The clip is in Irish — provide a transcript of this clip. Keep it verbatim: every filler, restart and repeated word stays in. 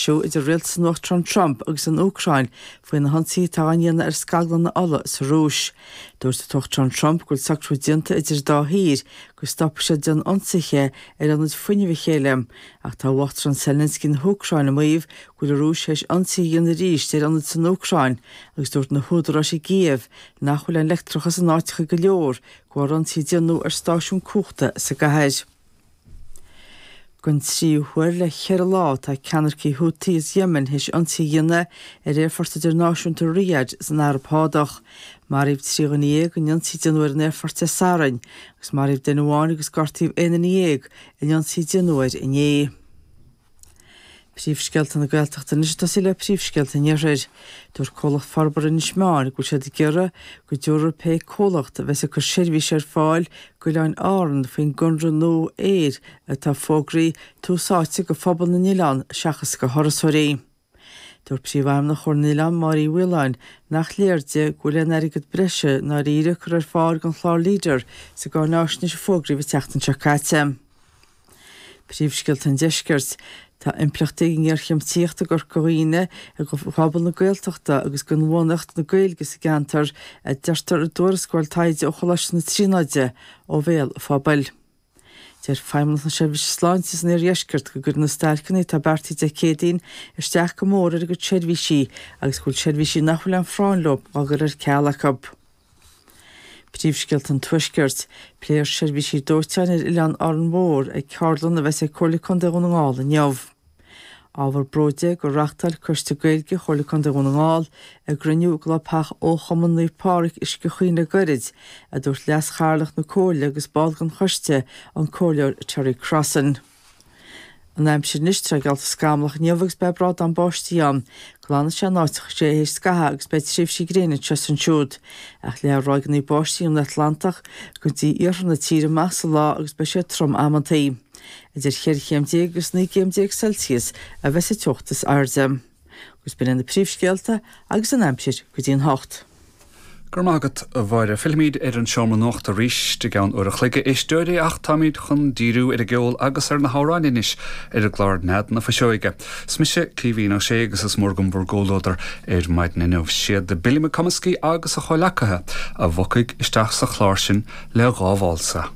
deisiú idir rialtas an Uachtaráin Trump agus an Úcráin faoi na hionsaithe atá á ndéanamh ar scaglanna ola sa Rúis. Dúirt an tUachtarán Trump go bhfuil socrú déanta idir an dá thír go stopfaidh siad ag déanamh ionsaithe ar ionaid fuinnimh a chéile, ach tá Uachtarán Zelensky na hÚcráine ag maíomh go bhfuil an Rúis théis ionsaí a dhéanamh arís ar ionaid san Úcráin agus dúirt na húdaráis i gCíév nach bhfuil an leictreachas in áiteacha go leor de bharr ionsaí a déanadh ar stáisiún cumhachta sa gcathair. Don tríú huair le ceithre lá tá ceannaircigh Houthi as Yemen théis ionsaí a dhéanamh ar aerfort idirnáisiúnta Riyadh san Araib Shádach. Maraíodh trí dhuine dhéag in ionsaí a déanadh ar an aerfort Dé Sathairn agus maraíodh duine amháin agus gortaíodh aon duine dhéag in ionsaí a déanadh air inné. Príomhscéalta na Gaeltachta anois ag tosaí le príomhscéalta an Iarthair. Dúirt comhlacht forbartha Inis Meáin go bhfuil siad ag iarraidh go dtabharfaidh pé comhlacht a bheas ag cur seirbhís ar fáil d'Oileáin Árann faoin gconradh nua aeir atá fógraithe tús áite do phobal na n-oileán seachas do thurasóirí. Dúirt Príomhfheidhmeannach Chomhairle na nOileán Máire Uí Mhaoláin nach léir di go bhfuil aon airgead breise i ndáiríre curtha ar fáil don chlár Leader sa gcáináisnéis a fógraíodh an tseachtain seo caite. Príomhscéalta an Deiscirt. Tá impleachtaí ag an ngéarchéim tithíochta i gCorca Dhuibhne do phobal na Gaeltachta agus d'inbhuanaitheacht na Gaeilge sa gceantar, a deirtear i dtuarascáil taighde ó Choláiste na Tríonóide ó bhéal an phobail. Deir Feidhmeannacht na Seirbhíse Sláinte san Iardheisceart go gcuireann na stailceanna atá beartaithe Dé Céadaoin isteach go mór ar a gcuid seirbhísí agus go bhfuil seirbhísí nach bhfuil aon phráinn leo á gcur ar ceal acu. Príomhscéalta an Tuaiscirt. Pléifear seirbhísí dóiteáin ar Oileán Árainn Mhór ag ceardlann a bheas ag Comhairle Contae Dhún na nGall inniu. Ábhar bróid é gur reáchtáil Coiste Gaeilge Chomhairle Contae Dhún na nGall a gcruinniú i gclubtheach Fhochumann Naomh Pádraig Uisce Chaoin le gairid, a dúirt Leas-Chathaoirleach na Comhairle agus ball den choiste, an Comhairleoir Terry Crossan. An aimsir anois, tá geallta scamallach inniu agus beidh brádán báistí ann. Glanfaidh sé in áiteacha théis scaitheamh agus beidh tréimhsí gréine anseo is ansiúd. Ach leáfaidh ráigeanna báistí ón Atlantach go dtí iarthar na tíre amach sa lá agus beidh sé trom amantaí. Idir cheithre chéim déag agus naoi gcéim déag Celsius a bheas an teocht is airde. Agus b'in iad na príomhscéalta agus an aimsir go dtí an hocht. Go raibh maith agat, a Mháire. Fillfimid ar an seomra nuachta arís i gceann uair a chloig, a éisteoirí, ach táimid chun díriú ar an gceol agus ar na hamhráin anois ar an gclár Nead na Fuiseoige. Is mise Caoimhín Ó Sé agus is mór agam bhur gcomhluadar ar maidin inniu. Siad Billy McComiskey agus a chomhleacaithe a bhogfaidh isteach sa chlár sin le dhá válsa.